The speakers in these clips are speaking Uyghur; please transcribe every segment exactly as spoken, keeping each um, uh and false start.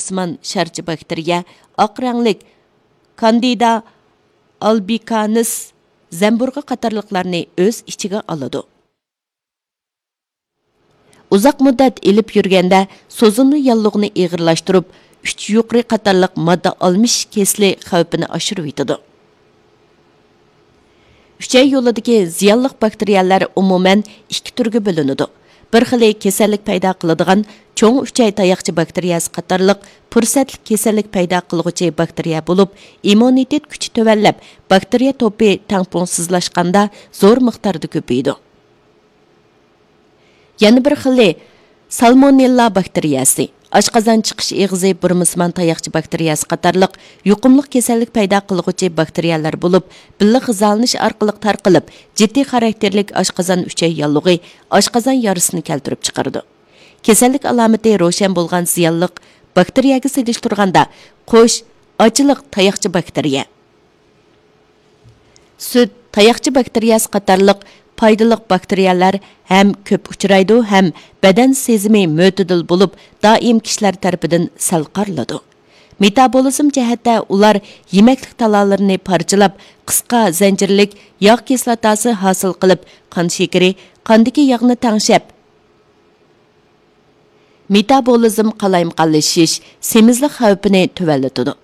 سىمان شارچە باكتېرىيە، ئاق رەڭلىك كاندىدا ئالبىكانس، زەمبۇرغا قاتارلىقلارنى ئۆز ئىچىگە ئالىدۇ. ئۇزاق مۇددەت ئېلىپ يۈرگەندە، سوزۇلما ياللۇغنى ئېغىرلاشتۇرۇپ، ئۈچ يۇقىرى قاتارلىق ماددا ئالمىشىش كېسىلى خەۋپىنى ئاشۇرۇۋېتىدۇ. ئۈچەي يولىدىكى زىيانلىق باكتېرىيەلەر ئومۇمەن ئىككى تۈرگە بۆلۈنىدۇ. بىر خىلى كېسەللىك پەيدا قىلىدىغان چوڭ ئۈچەي تاياقچە باكتېرىيەسى قاتارلىق پۇرسەتلىك كېسەللىك پەيدا قىلغۇچى باكتېرىيە بولۇپ، ئىممۇنىتېت كۈچى تۆۋەنلەپ، باكتېرىيە توپى تەڭپۇڭسىزلاشقاندا زور مىقداردا كۆپىيىدۇ. يەنە بىر خىلى سالمونېللا باكتېرىيەسى، ئاشقازان چىقىش ئېغىزى بۇرمىسىمان تاياقچە باكتېرىيەسى قاتارلىق يۇقۇملۇق كېسەللىك پەيدا قىلغۇچى باكتېرىيەلەر بولۇپ، بىللە غىزالىنىش ئارقىلىق تارقىلىپ، جىددىي خاراكتېرلىك ئاشقازان ئۈچەي ياللۇغى، ئاشقازان يارىسىنى كەلتۈرۈپ چىقىرىدۇ. كېسەللىك ئالامىتى روشەن بولغان زىيانلىق باكتېرىيەگە سېلىشتۇرغاندا، قوش، ئاچلىق تاياقچە باكتېرىيە، سۈت، تاياقچە باكتېرىيەسى قاتارلىق پايدىلىق باكتېرىيەلەر ھەم كۆپ ئۇچرايدۇ ھەم بەدەن سېزىمى مۆتىدىل بولۇپ، دائىم كىشىلەر تەرىپىدىن سەل قارىلىدۇ. مېتابولىزم جەھەتتە ئۇلار يېمەكلىك تالالىرىنى پارچىلاپ، قىسقا زەنجىرلىك ياغ كىسلاتاسى ھاسىل قىلىپ، قان شېكىرى، قاندىكى ياغنى تەڭشەپ، مېتابولىزم قالايمىقانلىشىش، سېمىزلىق خەۋپىنى تۆۋەنلىتىدۇ.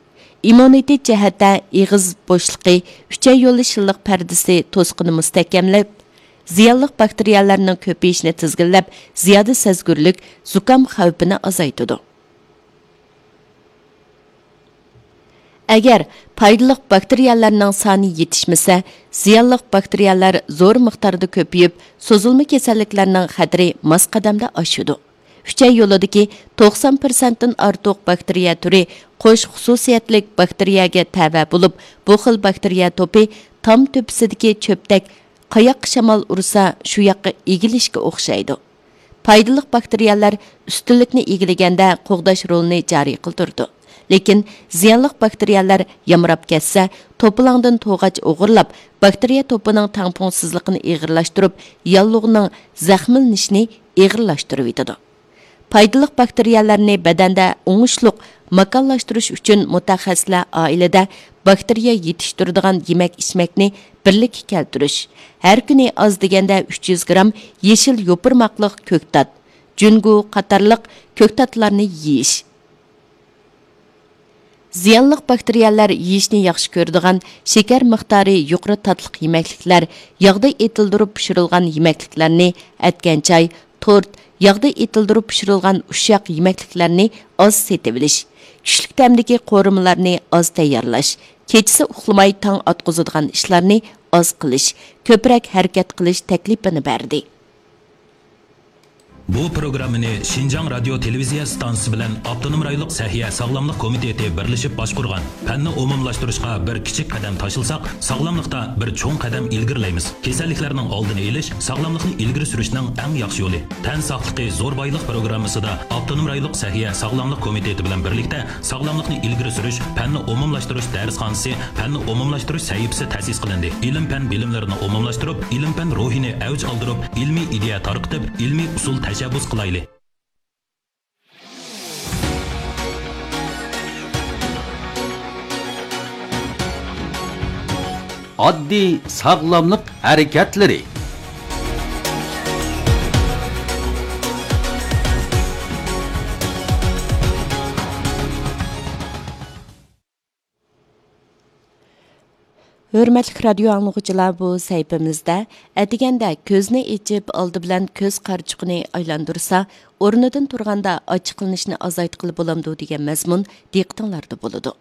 ئىممۇنىتېت جەھەتتە ئېغىز بوشلۇقى، ئۈچەي يولى شىللىق پەردىسى توسۇقىنى مۇستەھكەملەپ، زىيانلىق باكتېرىيەلەرنىڭ كۆپىيىشىنى تىزگىنلەپ، زىيادە سەزگۈرلۈك، زۇكام خەۋپىنى ئازايتىدۇ. ئەگەر پايدىلىق باكتېرىيەلەرنىڭ سانى يېتىشمىسە، زىيانلىق باكتېرىيەلەر زور مىقداردا كۆپىيىپ، سوزۇلما كېسەللىكلەرنىڭ خەتىرى ماس قەدەمدە ئاشىدۇ. ئۈچەي يولىدىكى توقسان پىرسەنتتىن ئارتۇق باكتېرىيە تۈرى قوش خۇسۇسىيەتلىك باكتېرىيەگە تەۋە بولۇپ، بۇ خىل باكتېرىيە توپى تام تۆپىسىدىكى چۆپتەك، قاياققا شامال ئۇرسا، شۇ ياققا ئېگىلىشكە ئوخشايدۇ. پايدىلىق باكتېرىيەلەر ئۈستۈنلۈكنى ئىگىلىگەندە قوغداش رولىنى جارى قىلدۇرىدۇ. لېكىن زىيانلىق باكتېرىيەلەر يامراپ كەتسە، توپىلاڭدىن توغاچ ئوغرىلاپ، باكتېرىيە توپىنىڭ تەڭپۇڭسىزلىقىنى ئېغىرلاشتۇرۇپ، ياللۇغنىڭ زەخىملىنىشىنى ئېغىرلاشتۇرۇۋېتىدۇ. پايدىلىق باكتېرىيەلەرنى بەدەندە ئوڭۇشلۇق ماكانلاشتۇرۇش ئۈچۈن مۇتەخەسسىسلەر ئائىلىدە باكتېرىيە يېتىشتۈرىدىغان يېمەك-ئىچمەكنى بىرلىككە كەلتۈرۈش، ھەر كۈنى ئاز دېگەندە ئۈچ يۈز گرام يېشىل يوپۇرماقلىق كۆكتات، جۈنگۇ قاتارلىق كۆكتاتلارنى يېيىش. زىيانلىق باكتېرىيەلەر يېيىشنى ياخشى كۆرىدىغان، شېكەر مىقدارى يۇقىرى تاتلىق يېمەكلىكلەر، ياغدا ئېتىلدۇرۇپ پىشۇرۇلغان يېمەكلىكلەرنى، ئەتكەن چاي، تورت، ياغدا ئېتىلدۇرۇپ پىشۇرۇلغان ئۇششاق يېمەكلىكلەرنى ئاز سېتىۋېلىش، كۈچلۈك تەمدىكى قورۇمىلارنى ئاز تەييارلاش، كېچىسى ئۇخلىماي تاڭ ئاتقۇزىدىغان ئىشلارنى ئاز قىلىش، كۆپرەك ھەرىكەت قىلىش تەكلىپىنى بەردى. بۇ پروگراممىنى شىنجاڭ رادىيو تېلېۋىزىيە ئىستانسىسى بىلەن ئاپتونوم رايونلۇق سەھىيە ساغلاملىق كومىتېتى بىرلىشىپ باشقۇرغان. پەننى ئومۇملاشتۇرۇشقا بىر كىچىك قەدەم تاشلىساق، ساغلاملىقتا بىر چوڭ قەدەم ئىلگىرىلەيمىز. كېسەللىكلەرنىڭ ئالدىنى ئېلىش، ساغلاملىقنى ئىلگىرى سۈرۈشنىڭ ئەڭ ياخشى يولى. تەن ساقلىقى زور بايلىق پروگراممىسىدا ئاپتونوم رايونلۇق سەھىيە ساغلاملىق كومىتېتى بىلەن بىرلىكتە ساغلاملىقنى ئىلگىرى سۈرۈش، پەننى ئومۇملاشتۇرۇش دەرسخانىسى، پەننى ئومۇملاشتۇرۇش سەھىپىسى تەسىس قىلىندى. ئىلىم-پەن بىلىملىرىنى ئومۇملاشتۇرۇپ، ئىلىم-پەن روھىنى ئەۋج ئالدۇرۇپ، ئىلمىي ئىدىيە تارقىتىپ، ئىلمىي ئۇسۇل تەشەببۇس قىلايلى. ئاددىي ساغلاملىق ھەرىكەتلىرى. ھۆرمەتلىك رادىيو ئاڭلىغۇچىلار، بۇ سەھىپىمىزدە ئەتىگەندە كۆزنى ئېچىپ، ئالدى بىلەن كۆز قارىچۇقىنى ئايلاندۇرسا، ئورنىدىن تۇرغاندا ئاچچىقلىنىشنى ئازايتقىلى بولامدۇ دېگەن مەزمۇن دىققىتىڭلاردا بولىدۇ.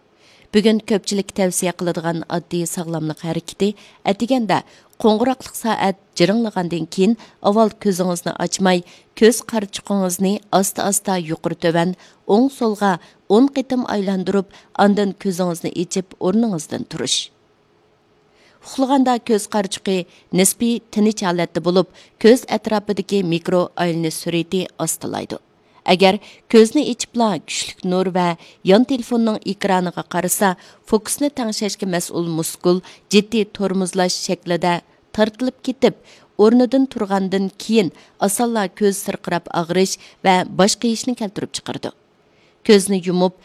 بۈگۈن كۆپچىلىككە تەۋسىيە قىلىدىغان ئاددىي ساغلاملىق ھەرىكىتى ئەتىگەندە قوڭغۇراقلىق سائەت جىرىڭلىغاندىن كېيىن ئاۋۋال كۆزىڭىزنى ئاچماي، كۆز قارىچۇقىڭىزنى ئاستا-ئاستا يۇقىرى-تۆۋەن، ئوڭ-سولغا ئون قېتىم ئايلاندۇرۇپ، ئاندىن كۆزىڭىزنى ئېچىپ ئورنىڭىزدىن تۇرۇش. ئۇخلىغاندا كۆز قارىچۇقى نىسپىي تىنچ ھالەتتە بولۇپ، كۆز ئەتراپىدىكى مىكرو ئايلىنىش سۈرئىتى ئاستىلايدۇ. ئەگەر كۆزنى ئېچىپلا كۈچلۈك نۇر ۋە يان تېلېفوننىڭ ئېكرانىغا قارىسا، فوكۇسنى تەڭشەشكە مەسئۇل مۇسكۇل جىددىي تورمۇزلاش شەكلىدە تارتىلىپ كېتىپ، ئورنىدىن تۇرغاندىن كېيىن ئاسانلا كۆز سىرقىراپ ئاغرىش ۋە باش قېيىشنى كەلتۈرۈپ چىقىرىدۇ. كۆزنى يۇمۇپ،